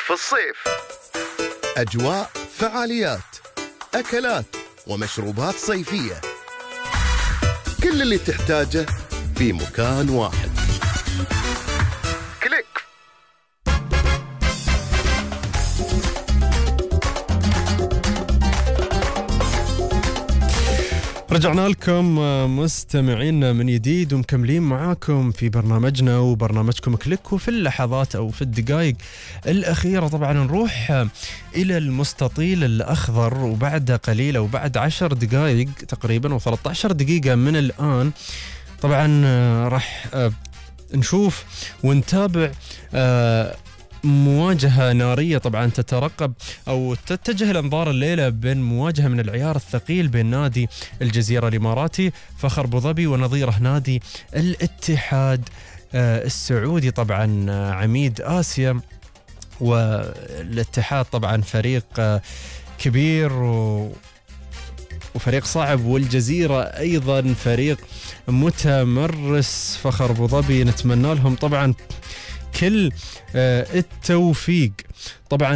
في الصيف. أجواء، فعاليات، أكلات ومشروبات صيفية، كل اللي تحتاجه في مكان واحد. كليك. رجعنا لكم مستمعين من جديد ومكملين معاكم في برنامجنا وبرنامجكم كليك. وفي اللحظات أو في الدقائق الأخيرة طبعا نروح إلى المستطيل الأخضر، وبعد قليل أو بعد 10 دقائق تقريبا و13 دقيقة من الآن طبعا راح نشوف ونتابع مواجهة نارية طبعا تترقب أو تتجه الأنظار الليلة بين مواجهة من العيار الثقيل بين نادي الجزيرة الإماراتي فخر أبو ظبي ونظيره نادي الاتحاد السعودي. طبعا عميد آسيا، والاتحاد طبعا فريق كبير وفريق صعب، والجزيرة أيضا فريق متمرس. فخر أبو ظبي نتمنى لهم طبعا كل التوفيق. طبعا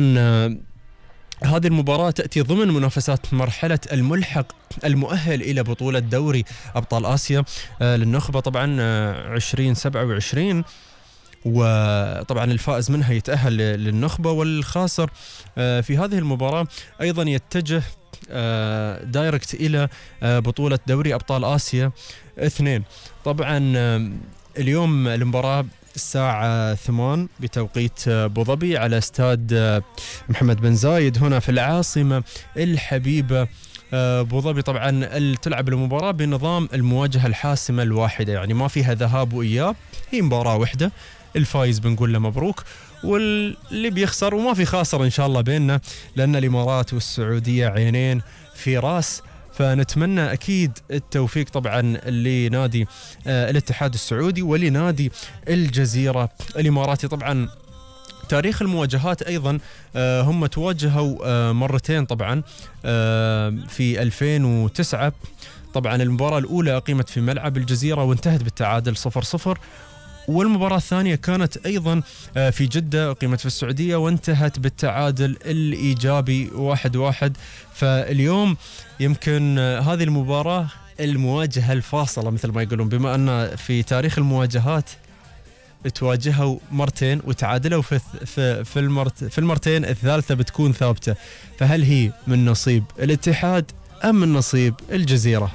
هذه المباراة تأتي ضمن منافسات مرحلة الملحق المؤهل إلى بطولة دوري أبطال آسيا للنخبة طبعا 2027، وطبعا الفائز منها يتأهل للنخبة، والخاسر في هذه المباراة أيضا يتجه دايركت إلى بطولة دوري أبطال آسيا 2. طبعا اليوم المباراة الساعة 8 بتوقيت أبو ظبي على استاد محمد بن زايد هنا في العاصمة الحبيبة أبو ظبي. طبعا تلعب المباراة بنظام المواجهة الحاسمة الواحدة، يعني ما فيها ذهاب وإياب، هي مباراة واحدة. الفايز بنقول له مبروك، واللي بيخسر وما في خاسر إن شاء الله بيننا، لأن الإمارات والسعودية عينين في راس. فنتمنى أكيد التوفيق طبعا لنادي الاتحاد السعودي ولنادي الجزيرة الإماراتي. طبعا تاريخ المواجهات أيضا هم تواجهوا مرتين طبعا في 2009. طبعا المباراة الأولى أقيمت في ملعب الجزيرة وانتهت بالتعادل 0-0، والمباراة الثانية كانت أيضا في جدة أقيمت في السعودية وانتهت بالتعادل الإيجابي 1-1. فاليوم يمكن هذه المباراة المواجهة الفاصلة مثل ما يقولون، بما أن في تاريخ المواجهات تواجهوا مرتين وتعادلوا في المرتين الثالثة بتكون ثابتة. فهل هي من نصيب الاتحاد أم من نصيب الجزيرة؟